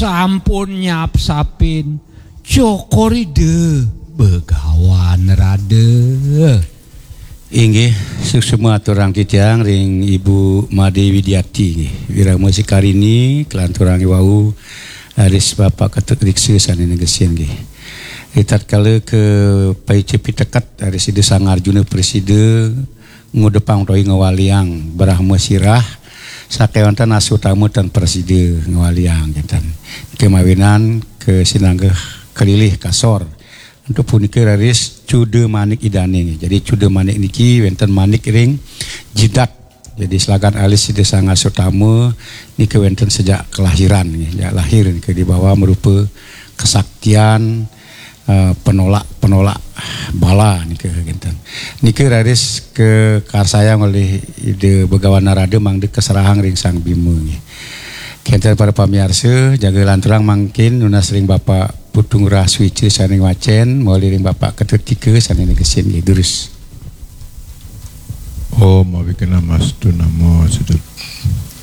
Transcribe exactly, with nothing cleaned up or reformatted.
Sampun nyapsapin Cokor Ida Begawan Rada. Inggih, suksma aturang titiang ring Ibu Made Widiati nggih. Wirama Sikarini, kalanturang wau, raris Bapak Ketut Riksa sane negesin nggih. Ritatkala kapaica piteket, raris Ida Sang Arjuna prasida ngudepang utawi ngwaliang Brahma Sirah, sakewanten asutama tan prasida ngwaliang kinten. Kemawinan kasinanggeh kalilih kasor. Antuk punika raris cuda manik Idane. Jadi cuda manik niki wenten manik ring jidat. Jadi selagan alis Ida Sang Asutama nika wenten sejak kelahiran, sejak lahir nika dibawa merupa kesaktian, eh, penolak-penolak bala nika kinten. Nika raris kakarsayang olih Ida Begawan Narada mangda kaserahang ring Sang Bima nggih. Kinten para pamiarsa, jaga lanturang mangkin nunas ring Bapak Putu Ngurah Suica sane ngwacen, mawali ring Bapak Ketut Tika sane negesin nggih, durus. Om Awighnamastu Namo Siddham.